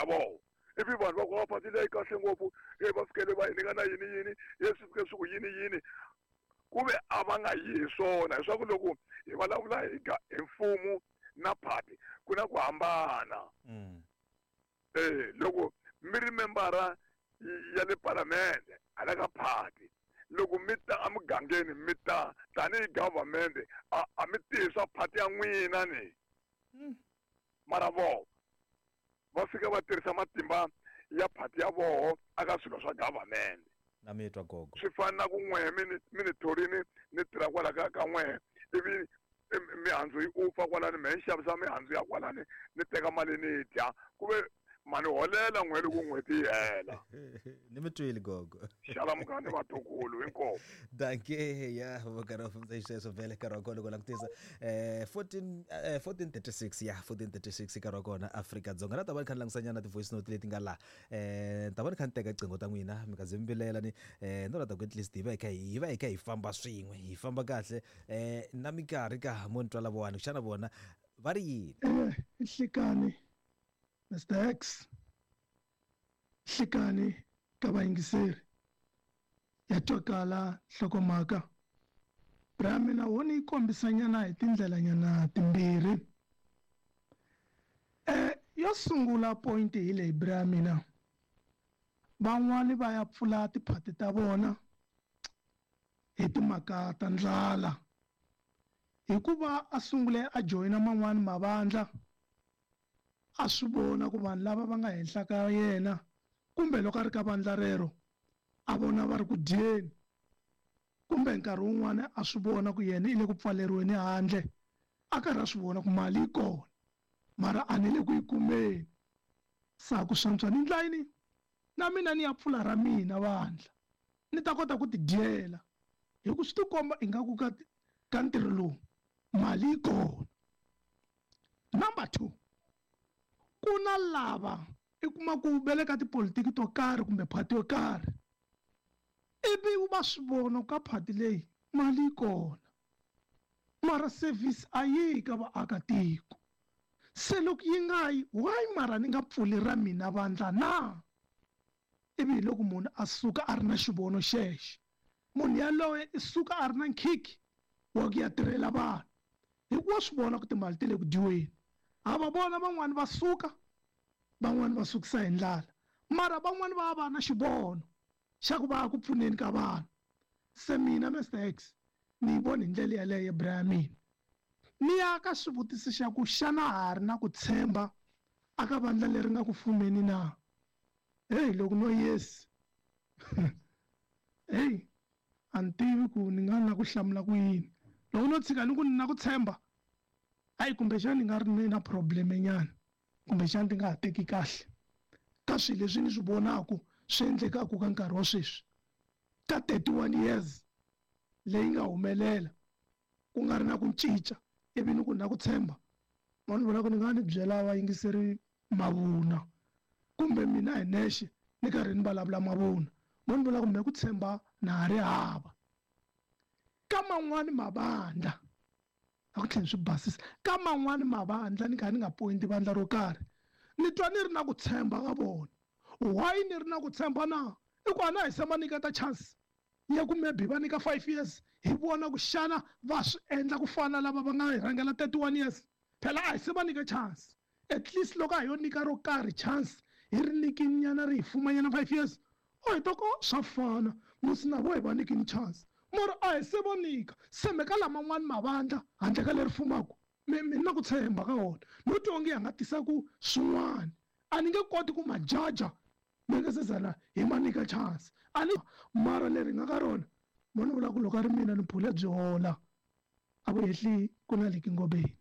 ya vona ivi vanhu va ku va phati leyi kahle ngopfu e va fikele va hi nyika na yini yini e swi fike swi ku yini yini ku ve a va nga yi hi swona leswaku loko hi vulavula hi hi mfumo na phati ku na ku hambana. E loko mi ri membara ya le palamende hala ka phati loko mi ta emugangeni mi ta tanihi government a mi tihi swa phati ya n'wina ni. Mara voho va fika va tirhisa matimba ya phati ya voho aka swilo swa government. Na mi twa gogo. Swi fana na ku n'wehe mi ni thorini ni tirha kwala ka n'wehe ivi mihandzu yi ufa kwalani mehe ni xavisa mihandzu ya kwalani ni teka mali ni dya ku ve mani holela n'we loko n'hweti yi hela. Ni mi twile gogo. Xalamukani vatukulu hinkwavo. Dankie ya va karhi va fambisa xisweswo vhele nkarhi wa kona loko langutisa 14 14:36 ya 14:36 nkarhi wa kona Afrika Dzonga na ta va ni kha ni langusanyana ti-voice note leti nga laha ni ta va ni kha ni teka qingho ta n'wina mi nga ze mi vilela ni no lata ku at least hi va hi kha hi va hi kha hi famba swin'we hi famba kahle na minkarhi ka mo ni twa lavawani xana vona va ri yini. Nhlikani Mr X nhlikani ka vayingiseri ya twakala nhlokomhaka bra mina wo ni yi kombisanyana hi tindlelanyana timbirhi yo sungula point hi leyi bra mina van'wani va ya pfula tiphati ta vona hi timhaka ta ndlala hikuva a sungule a joyina man'wani mavandla a swi vona ku vanhu lava va nga henhla ka yena kumbe loko a ri ka vandla rero a vona va ri ku dyeni kumbe nkarhi wun'wani a swi vona ku yena i le ku pfaleriweni handle a karhi a swi vona ku mali yi kona mara a ni le ku yi kumeni sa ku swantswa ni ndla yini na mina ni ya pfula ra mina vandla ni ta kota ku tidyela hi ku swi tikomba ingaku ka ka ntirho lowu mali yi kona. Number 2 ku na lava i kuma ku va le ka tipolitiki to karhi kumbe phati yo karhi ivi va swi vona ka phati leyi mali yi kona mara service a yi ka vaakatiko se loko yi nga yi why mara ni nga pfuli ra mina vandla na ivi hi loko munhu a suka a ri na xivono xexo munhu yaloye i suka a ri na nkhikhi wa ku ya tirhela vanhu hikuva swi vona ku timali ti le ku dyiweni ha va vona van'wani va suka van'wani va sukisa hi ndlala mara van'wani va va na xivono xa ku va ku pfuneni ka vanhu se mina Mr X ni yi vona hi ndlela yaleyo bra ya mina ni ya ka swivutiso xa ku xana ha ri na ku tshemba aka vandla leri nga ku fumeni na hey loko no yes hey a ni tivi ku ni nga na ku hlamula ku yini loko no tshika ni ku ni na ku tshemba hayi kumbexana ni nga ri ni na problem nyana kumbexana ti nga ha teki kahle ka swilo leswi ni swi vonaku swi endlekaku ka nkarhi wa sweswi ka 31 years leyi nga humelela ku nga ri na ku cinca ivi ni ku na ku tshemba ma ni vona ku ni nga ni byela vayingiseri mavuna kumbe mina hi nexe ni karhi ni vulavula mavuna mo ni vula ku me ku tshemba na ha ri hava ka man'wani mavandla a ku tlheli swi basisa ka man'wani mavandla ni kha ni nga pointi vandla ro karhi ni twa ni ri na ku tshemba ka vona why ni ri na ku tshemba na i ku a na hi se ma nyiketa chance ya ku maybe va nyika 5 years hi vona ku xana va swi endla ku fana lava va nga hi rhangela 31 years phela a hi se va nyika chance at least loko a hi yo nyika ro karhi chance hi ri nyikini nyana ri hi fumanyana 5 years o hi to ko swa fana musi na vo hi va nyikini chance mara a hi se va nyika se me ka laman'wani mavandla handle ka leri fumaka mi na ku tshemba ka wona no twa onge ya nga tisa ku swin'wana a ni nge koti ku ma jaja mi nga se zala hi ma nyika chance a ni mara leri nga ka rona mo ni vula ku loko a ri mina ni phule byi hola a vu hehli ku na liki ngobeni.